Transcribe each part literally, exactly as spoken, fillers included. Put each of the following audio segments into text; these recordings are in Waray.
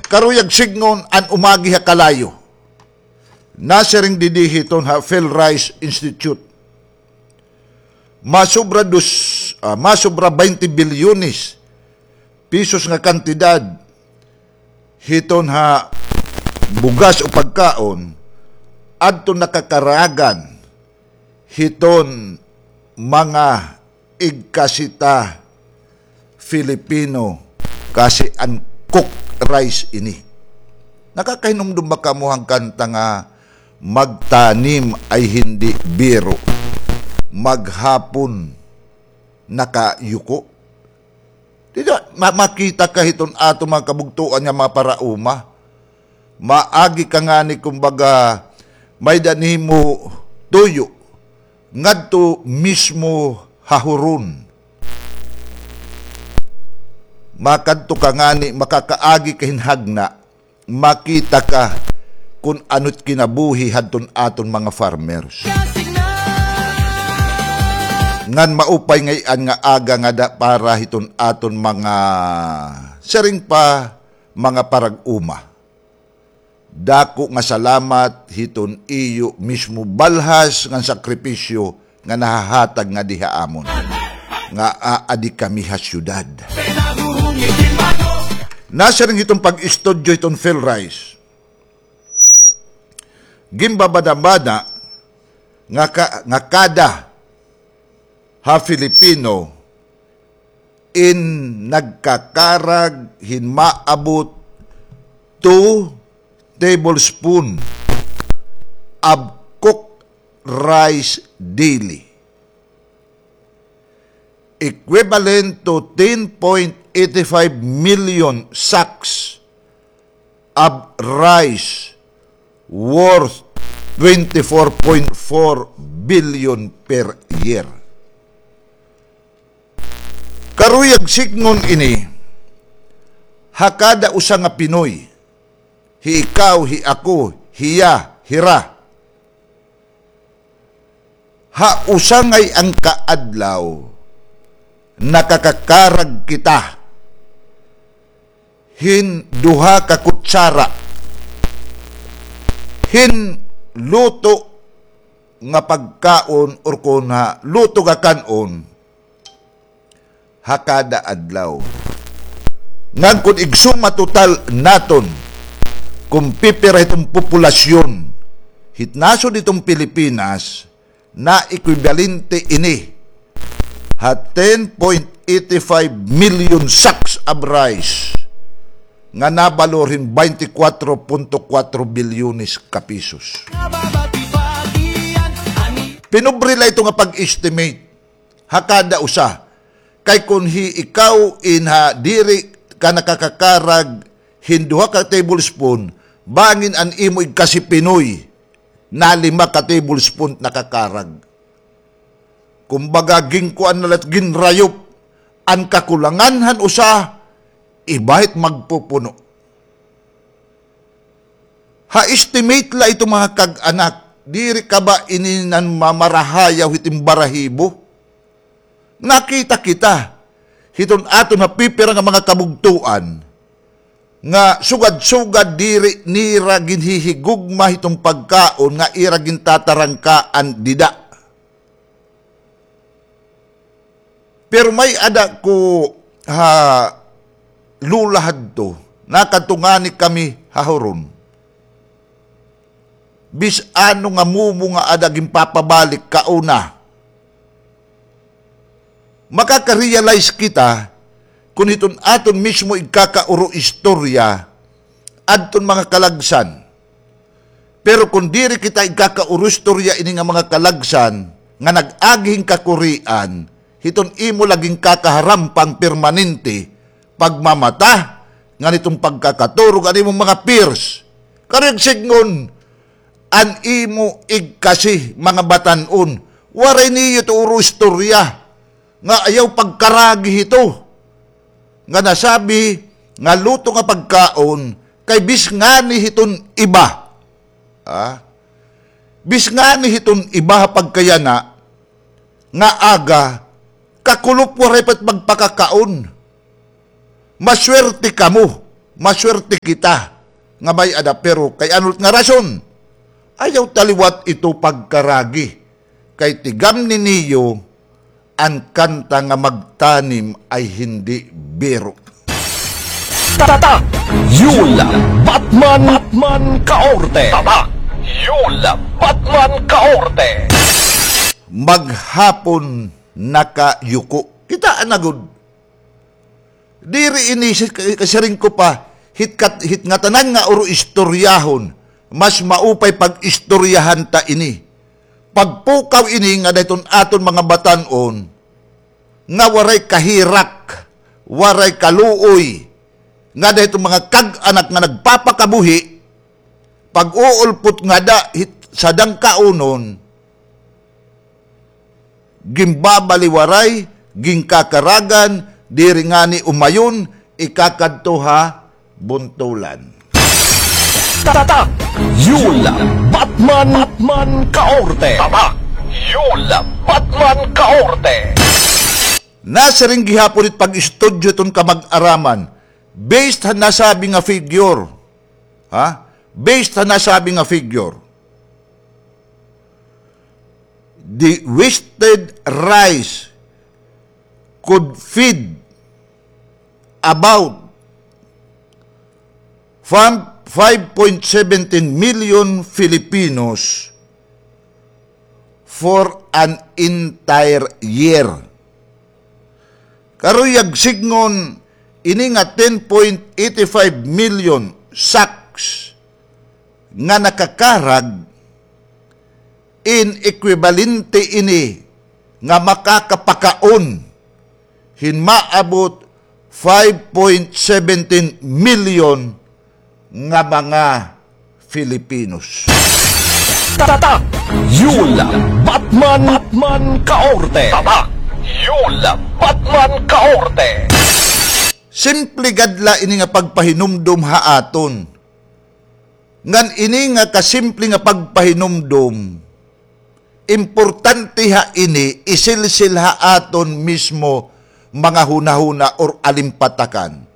Karuyag sidngon an umagi ha kalayo. Nasiring didi hiton ha PhilRice Institute. Masobra dos, ah, masobra baynte bilyones pesos nga kantidad hiton ha bugas o pagkaon adton nakakaragan hiton mga igkasi ta Filipino, kasi an cooked rice ini. Nakakahinumdom ba kamo han kanta nga, "Magtanim ay hindi biro, maghapon nakayuko"? Di ba, ma-, makita ka hiton aton mga kabugtoan nga mga paraoma. Maagi ka ngani, kumbaga, may-ada nimo tuyo ngadto mismo ha huron. Makadto ka ngani, makakaagi ka hin hagna, makita ka kun ano it kinabuhi hadton aton mga farmers. Ngan maupay ngay-an nga aga ngada para hiton aton mga, siring pa, mga parag-uma. Dako nga salamat hiton iyo mismo balhas ngan sakripisyo nga nahahatag ngadi ha amon nga aadi kami ha syudad. Nasiring hiton pag-istudyo hiton PhilRice, ginbabada-bada nga ka-, nga kada ha Filipino in nagkakarag hin maabot two tablespoon of cooked rice daily, equivalent to ten point eight five million sacks of rice worth twenty-four point four billion per year. Karuyag sidngon ini ha kada usa nga Pinoy, hi ikaw, hi ako, hiya, hira. Ha usa ngay-an ka adlaw, nakakakarag kita hin duha ka kutsara hin luto nga pagkaon or kon ha luto nga kan-on ha kada adlaw. Ngan kon igsuma total naton kon pipira hiton populasyon hit nasod hiton Pilipinas, na ekwibalente ini ha ten point eight five million sacks of rice nga nabalor hin baynte kwatro punto kwatro bilyones ka pesos. Pinobre la ito nga pag-estimate ha kada usa. Kay kon hi ikaw in ha diri ka nakakakarag hin duha ka tablespoon, bangin an imo igkasi Pinoy na lima ka tablespoon nakakarag. Kumbaga, ginkuan na la, ginrayop an kakulangan han usa, iba it magpupuno. Ha estimate la ito, mga kag-anak, diri ka ba ini nan mamarahayaw hit im barahibo? Nakita kita hiton aton ha pipira nga mga kabugtoan nga sugad-sugad diri nira ginhihigugma hiton pagkaon nga ira gintatarangkaan dida. Pero may-ada ko ha Lola hadto, nakadto ngani kami ha huron. Bisan ano nga mumo nga ada ginpapabalik kauna. Makaka-realize kita kon hiton aton mismo igkakauro istorya adton mga kalagsan. Pero kon diri kita igkakauro istorya ini nga mga kalagsan nga nag-agi hin kakurian, hiton imo la ginkakaharampang permanente, pagmamata, ngan hiton pagkakaturog an imo mga peers. Karuyag sidngon, an imo igkasi mga batan-on, waray niyo tuuro istorya nga ayaw pagkaragi hito nga nasabi nga luto nga pagkaon kay bis ngani hiton iba. Ha? Bis ngani hiton iba ha pagkayana nga aga, kakulop waray pa it magpakakaon. Maswerte kamo Maswerte kita nga may-ada, pero kay ano nga rason? Ayaw ta liwat ito pagkaragi. Kay tigamni niyo, an kanta nga magtanim ay hindi biro. Tatak! Yul Batman, Batman Kaorte! Tatak! Yul Batman Kaorte! Maghapon nakayuko. Kita na gud. Diri ini si-, kasiring ko pa, hit kat-, hit ngatanan nga uro istoryahon, mas maupay pag-istoryahan ta ini. Pagpukaw ini nga dayton aton mga batan-on, nga waray kahirak, waray kaluoy, nga dayton mga kag-anak nga nagpapakabuhi, pag-uulpot ngada hit sadang kaunon, ginbabaliwaray, ginkakaragan, diri ngani umayon, ikakadto ha buntolan. Tatak! Yul Batman, Batman Kaorte! Tatak! Yul Batman Kaorte! Nasiring gihapon it pag-istudyo ton kamag-araman, based ha nasabi nga figure, ha? Based ha nasabi nga figure, the wasted rice could feed about fam-, five point seventeen million Filipinos for an entire year. Karuyag sidngon, ini nga ten point eight five million sacks nga nakakarag, in ekwibalente ini nga makakapakaon hin maabot five point seventeen million nga mga Filipinos. Tatak! Yul Batman, Batman Kaorte! Tatak! Yul Batman Kaorte! Simple gad la ini nga pagpahinumdom ha aton. Ngan ini nga kasimple nga pagpahinumdom, importante ha ini, isilsil ha aton mismo mga hunahuna or alimpatakan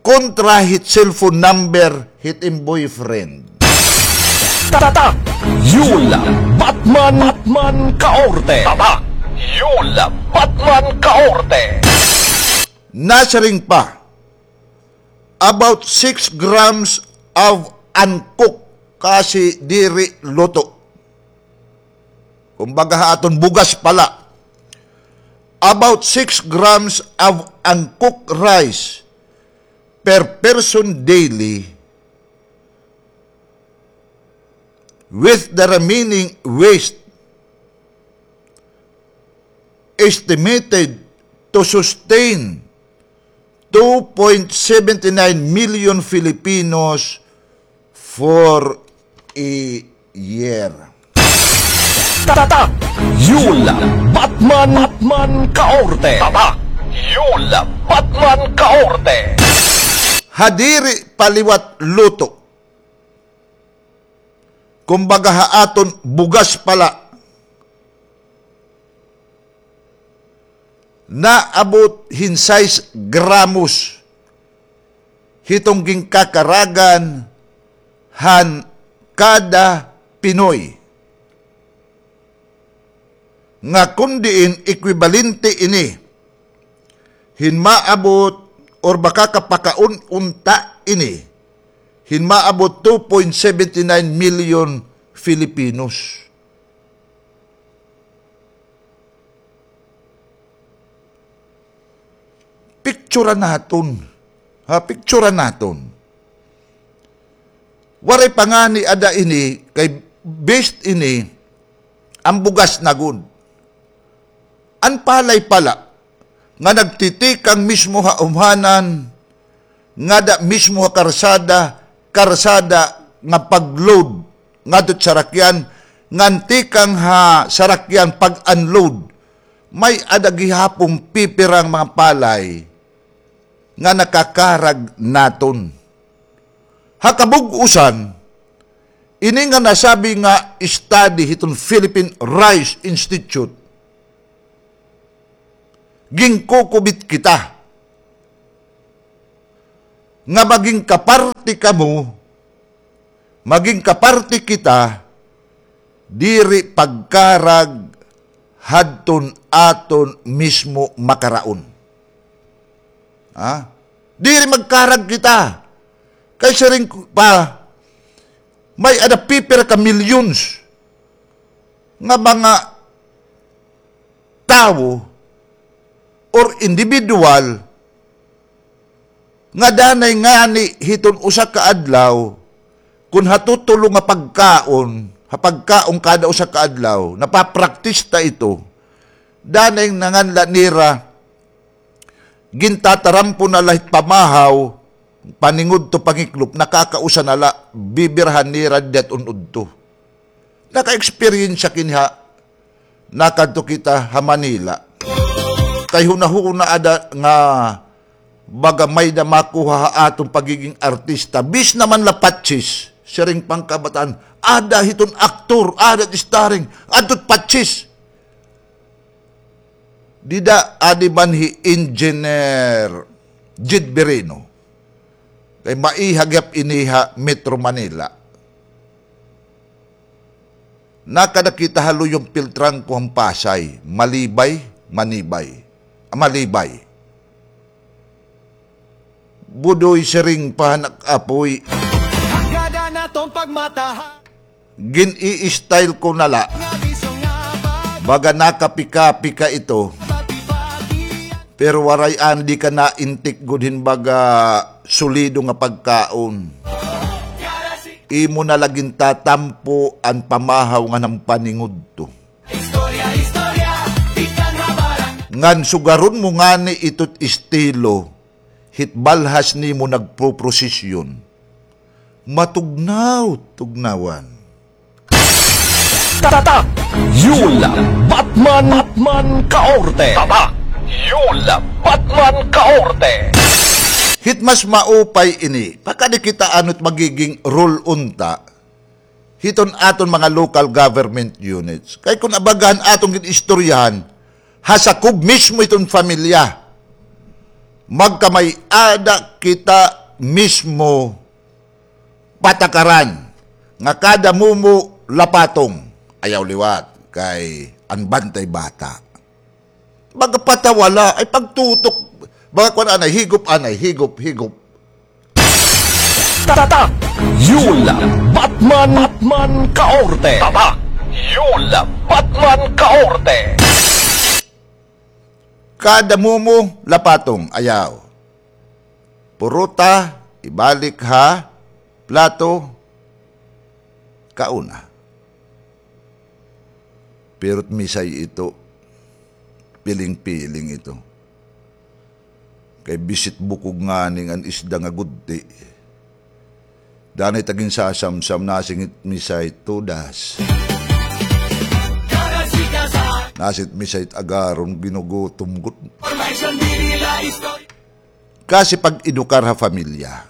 kontra hit cellphone number hit im boyfriend. Tatak! Yul Batman, Batman Kaorte! Tatak! Yul Batman Kaorte! Nasiring pa, about six grams of uncooked, kasi diri luto. Kumbaga ha aton bugas pala. About six grams of uncooked rice per person daily, with the remaining waste estimated to sustain two point seventy nine million Filipinos for a year. Tatak! Yul Batman, Batman Kaorte! Tatak! Yul Batman Kaorte! Ha diri pa liwat luto, kumbaga ha aton bugas pala, naabot hin sais gramos hiton ginkakaragan han kada Pinoy. Nga kon diin ekwibalente ini hin maabot or makakapakaon unta ini hin maabot two point seventy nine million Filipinos. Picturan naton. Ha, picturan naton. Waray pa ngani ada ini, kay based ini, an bugas na gud. An palay pala, nga nagtitikang mismo ha umhanan, ngada mismo ha karsada, karsada nga pag-load ngadto ha sarakyan, ngan tikang ha sarakyan pag-unload, may-ada gihapon pipirang mga palay nga nakakarag naton. Ha kabug-osan, ini nga nasabi nga study hiton Philippine Rice Institute, ginkukubit kita. nga maging kaparte kamo, maging kaparte kita, diri pagkarag hadton aton mismo makaraon. Ha? Diri magkarag kita. Kay siring pa, may-ada pipira ka millions nga mga tawo or individual nga danay ngani hiton usa ka adlaw, kun ha tutulo nga pagkaon, ha pagkaon kada usa ka adlaw, napapraktis ta ito, danay nanganla nira, gintatarampo na la hit pamahaw, paningudto pangiklop, nakakausa na la, bibirahan nira dida hit un-udto. Naka-experience kini ha, nakadto kita ha Manila. Kay hunahuna ada nga baga may-ada makuha ha aton pagiging artista. Bis naman la patsis, siring pa an kabataan, ada hiton aktor, ada hit starring, adto hit patsis. Dida, adi man hi Engineer Jed Birino. Kay maiha gihap ini ha Metro Manila. Nakada kita ha Luyong Piltrangco han Pasay, Malibay, Manibay. Ah, Malibay. Budoy, siring pa han ak apoy. Hanggadan naton pagmatahan. Gin-i-style ko na la. Baga nakapika-pika ito. Pero waray, an di ka naintik gud hin baga solido nga pagkaon. Imo na la gintatampo an pamahaw ngan an paningudto. Ngan sugaron mo ngani ito hit estilo, hit balhas nimo nagpoprosesyon. Matugnaw, tugnawan. Tatak! Yul Batman, Batman Kaorte! Tatak! Yul Batman Kaorte! Hit mas maupay ini, pakadi kita ano it magiging rule unta hiton aton mga local government units. Kay kun abaga han aton gin-istoryahan, ha sakob mismo hiton pamilya, magkamay-ada kita mismo patakaran nga kada mumo lapatong, ayaw liwat, kay an bantay bata. Baga patawala, ay pagtutok. Baga kuan anay, higop anay, higop, higop. Tatak! Yul Batman, Batman Kaorte! Tatak! Yul Batman Kaorte! Kada mumo, lapatong, ayaw. Purota, ibalik ha plato, kauna. Pero it misay ito, piling-piling ito. Kay bisit bukog ngani an isda nga gudti. Danay ta ginsasamsam, nasingit misay tudas. Nasingit misay agaron, ginugutom gud. Kasi pag-edukar ha pamilya.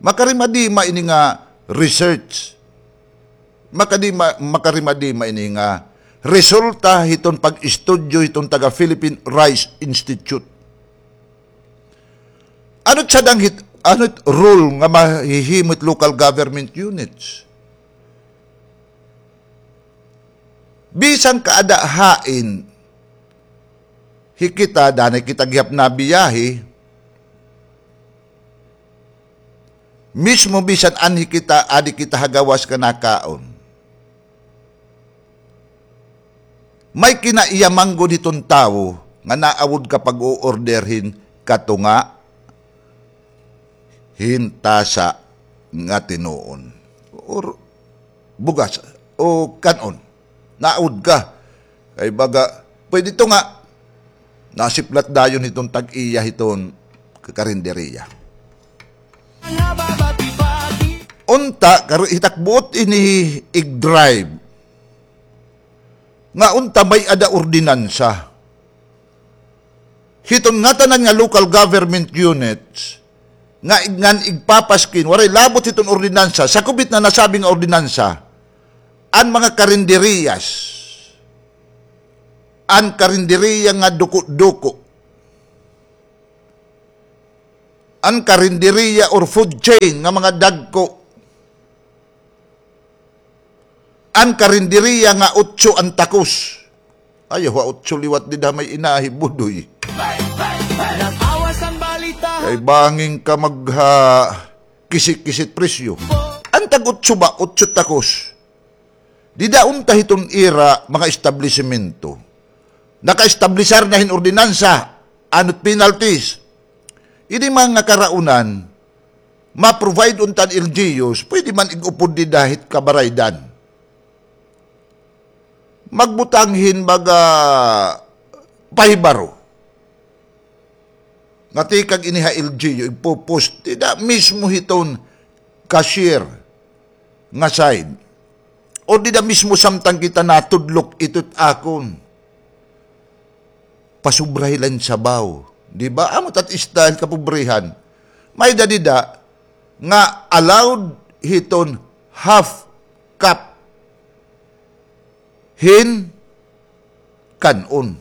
Makarimadima ini nga research. Makadima, makarimadima ini nga resulta hiton pag-istudyo hiton taga Philippine Rice Institute. Ano it sadang hit, ano it rule nga mahihimo it local government units? Bisan kaada hain, hi kita, danay kita gihap nabiyahe, mismo bisan anhi kita, adi kita ha gawas nga nakaon. May kinaiya man gud hiton tawo nga naawod ka pag-o-order hin katunga, hin tasa nga tinuon. Or bugas o kan-on. Naawod ka. Kay baga, pwede ito nga, nasiplat dayon hiton tag-iya hiton karinderya. Unta, kar-, hitakbuot ini ig-drive. Nga unta may-ada ordinansa. Hiton ngatanan nga local government units, nga ig-, ngan igpapaskin, waray labot hiton ordinansa, sakob hit na nasabi nga ordinansa, an mga karinderyas, an karinderya nga duko-duko, An karinderiya or food chain nga mga dagko. An karinderiya nga otso an takos. Ayaw ha otso liwat dida may inahi, Budoy. Kay bangin ka magha kisit-kisit presyo. An tag-otso ba, otso takos. Dida unta hiton ira mga establisimento. Naka-establisar na hin ordinansa, ano't penalties. Ini mga karaunan, ma-provide unta an L G Us, pwede man ig-upod dida hit kabaraydan. Magbutang hin baga pahibaro. Nga tikang ini ha L G U, igpo-post dida mismo hiton cashier nga side. O dida mismo samtang kita natudlok ito't akon. Pasubrahi la hin sabaw. Di ba? Amo tat style kapobrehan. May-ada dida nga allowed hiton half cup hin kan-on.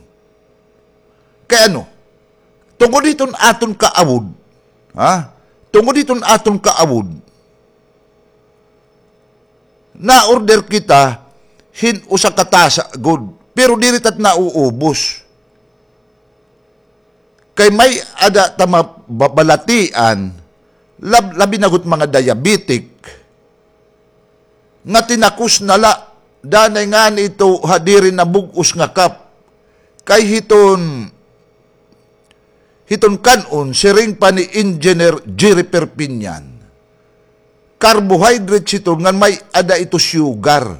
Kay ano? Tungod hiton aton kaawod, ha? Tungod hiton aton kaawod, na-order kita hin usa ka tasa gud, pero diri tat nauubos. Kay may-ada ta mabalatian, lab-, labi na gud mga diabetic, nga tinakos na la, danay ngani ito ha diri nabug-os nga cup. Kay hiton, hiton kan-on, siring pa ni Engineer Jerry Perpignan, carbohydrates ito ngan may-ada ito sugar.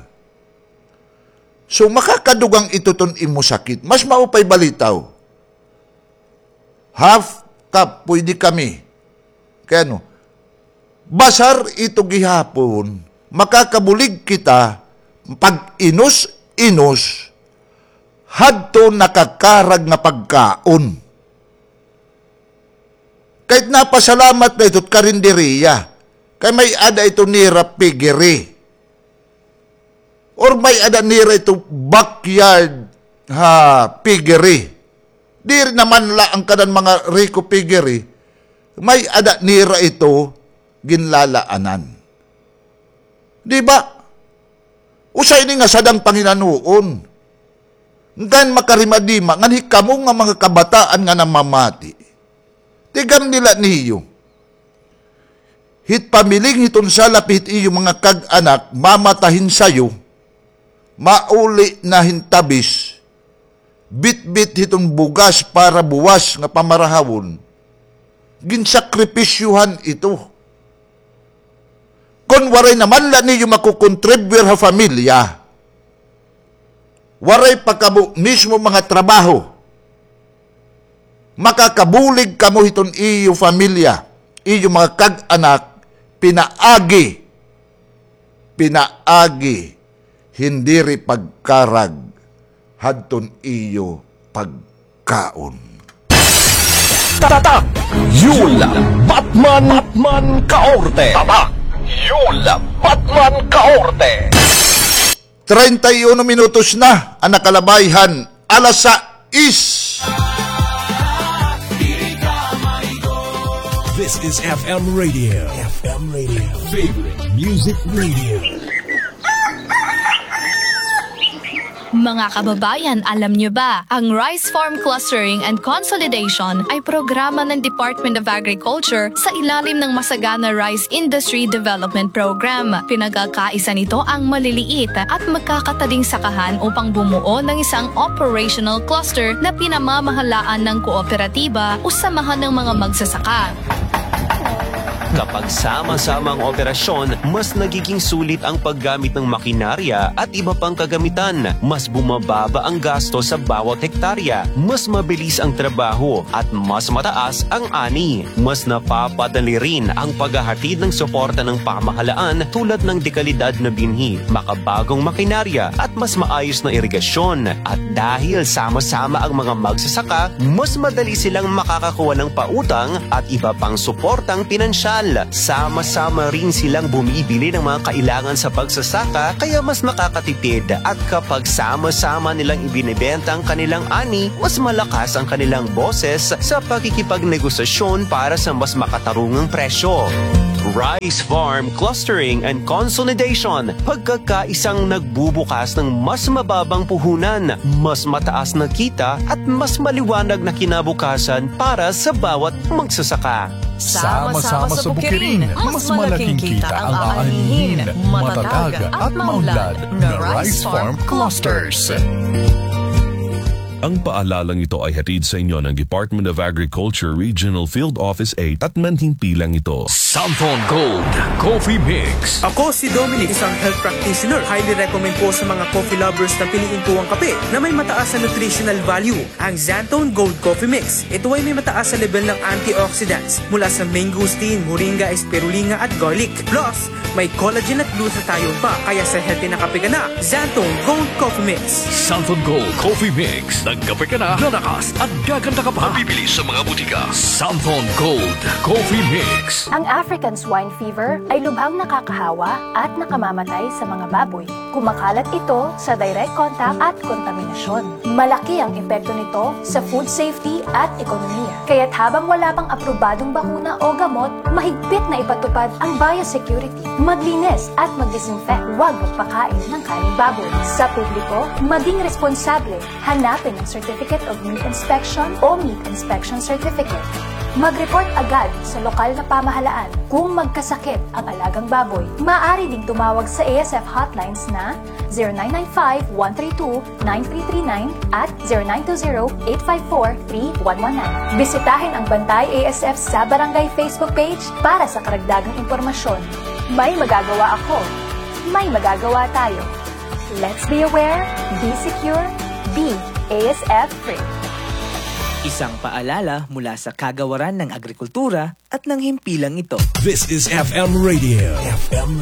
So, makakadugang ito ton imo sakit. Mas maupay balitaw. Half cup, pwede kami. Kay ano, basar ito gihapon, makakabulig kita pag-inos-inos hadto nakakarag nga pagkaon. Kay napasalamat na ito't karinderiya, kay may-ada ito nira piggery. Or may-ada nira ito backyard ha piggery. Diri naman la an kanan mga riko piggery, may-ada nira ito ginlalaanan. Di ba? Usa ini nga sadang panginanoon. Ngan makarimadima, ngan hikamo nga mga kabataan nga namamati. Tigam nila niyo. Hit pamiling hiton salap hit iyo mga kag-anak, mamata hin sayo, mauli na hin tabis, bitbit hiton bugas para buwas nga pamarahawon, ginsakripisyohan ito. Kon waray naman la niyo makukontribuyar ha pamilya, waray pa kamo mismo mga trabaho, makakabulig kamo hiton iyo pamilya, iyo mga kag-anak, pinaagi, pinaagi, hin diri pagkarag hadton iyo pagkaon. Tatak! Yul Batman, Batman Kaorte! Tatak! Yul Batman Kaorte! Treinta y uno minutos na an nakalabay han alas sais. This is F M Radio. F M Radio. Favorite Music Radio. Mga kababayan, alam niyo ba, ang Rice Farm Clustering and Consolidation ay programa ng Department of Agriculture sa ilalim ng Masagana Rice Industry Development Program. Pinagkakaisa nito ang maliliit at magkakataling sakahan upang bumuo ng isang operational cluster na pinamamahalaan ng kooperatiba o samahan ng mga magsasaka. Kapag sama-sama ang operasyon, mas nagiging sulit ang paggamit ng makinarya at iba pang kagamitan. Mas bumababa ang gasto sa bawat hektarya, mas mabilis ang trabaho, at mas mataas ang ani. Mas napapadali rin ang paghahatid ng suporta ng pamahalaan tulad ng dekalidad na binhi, makabagong makinarya, at mas maayos na irigasyon. At dahil sama-sama ang mga magsasaka, mas madali silang makakakuha ng pautang at iba pang suportang pinansyal. Sama-sama rin silang bumibili ng mga kailangan sa pagsasaka, kaya mas nakakatipid. At kapag sama-sama nilang ibinebenta ang kanilang ani, mas malakas ang kanilang boses sa pakikipagnegosasyon para sa mas makatarungang presyo. Rice Farm Clustering and Consolidation, pagkakaisang nagbubukas ng mas mababang puhunan, mas mataas na kita at mas maliwanag na kinabukasan para sa bawat magsasaka. Sama-sama sa bukirin, mas malaking kita ang aanhin, matatag at maunlad na Rice Farm Clusters. Ang paalalang ito ay hatid sa inyo ng Department of Agriculture Regional Field Office eight at manhimpilang ito. Santon Gold Coffee Mix. Ako si Dominic, isang health practitioner. Highly recommend ko sa mga coffee lovers na piliin ko ang kape na may mataas na nutritional value, ang Xanthone Gold Coffee Mix. Ito ay may mataas na level ng antioxidants mula sa mangosteen, moringa, spirulina at garlic. Plus, may collagen at glutathione pa, kaya sa healthy na kape ka na, Xanthone Gold Coffee Mix. Santon Gold Coffee Mix. Nagkape ka na, lalakas at gaganda ka pa. Mabibili sa mga butika. Santon Gold Coffee Mix. Ang African swine fever ay lubhang nakakahawa at nakamamatay sa mga baboy. Kumakalat ito sa direct contact at kontaminasyon. Malaki ang epekto nito sa food safety at ekonomiya. Kaya't habang wala pang aprobadong bakuna o gamot, mahigpit na ipatupad ang biosecurity. Maglinis at mag-disinfect. Huwag magpakain ng kaning baboy. Sa publiko, maging responsable. Hanapin ang Certificate of Meat Inspection o Meat Inspection Certificate. Mag-report agad sa lokal na pamahalaan kung magkasakit ang alagang baboy. Maaari ding tumawag sa A S F hotlines na zero nine nine five, one three two, nine three three nine at zero nine two zero, eight five four, three one one nine. Bisitahin ang Bantay A S F sa Barangay Facebook page para sa karagdagang impormasyon. May magagawa ako. May magagawa tayo. Let's be aware, be secure, be A S F free. Isang paalala mula sa Kagawaran ng Agrikultura at ng himpilang ito. This is F M Radio. F M